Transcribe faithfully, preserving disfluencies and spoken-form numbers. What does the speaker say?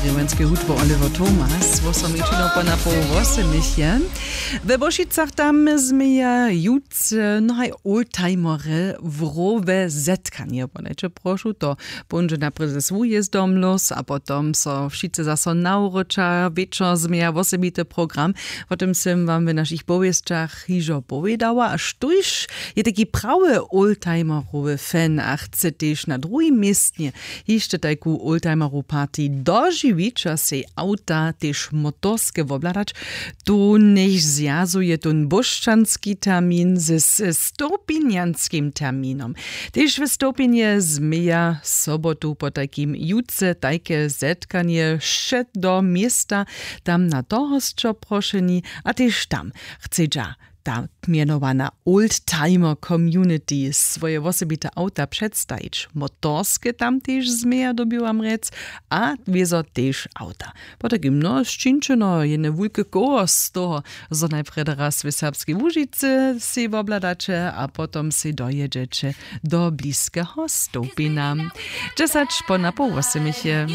Rěmjańske hudbo Oliver Thomas, wosom wječinu po napoł wosomich je. We Włošicach tam změja jutře, no haj, oldtimery w rowe zetkanje podajće, prošu, to póńdźe naprej ze swójezdom los a potom so wšitcy zaso nawróća wječor, změja wosebity program. Wo tym sym wam w našich powěsćach hižo powědała, a štóž je taki prawy oldtimerowy fan a chce tež na druhim městnje hišće tajku oldtimerow party dožiwić a sej awta tež motorske wobhladać, tu njech zwjazuje tón bóšćanski termin ze, ze stołpinjanskim terminom. Tež w stołpinje změja sobotu potajkim jutře tajke zetkanje wšě do města, tam na tohosćo prošeni, a tež tam chcedźa ta mjenowana oldtimer community swoje wosebite awta předstajić. Motorske tam tež změja, dyrbju wam rjec, a wězo tež awta. Potajkim, no, sčinčeno jene wulke koło z toho, zo najprjedy raz w Serbskej Łužicy sej wobhladaće a potom sej dojědźeće do bliskeho stołpina. Dźesać po napoł wosomich je.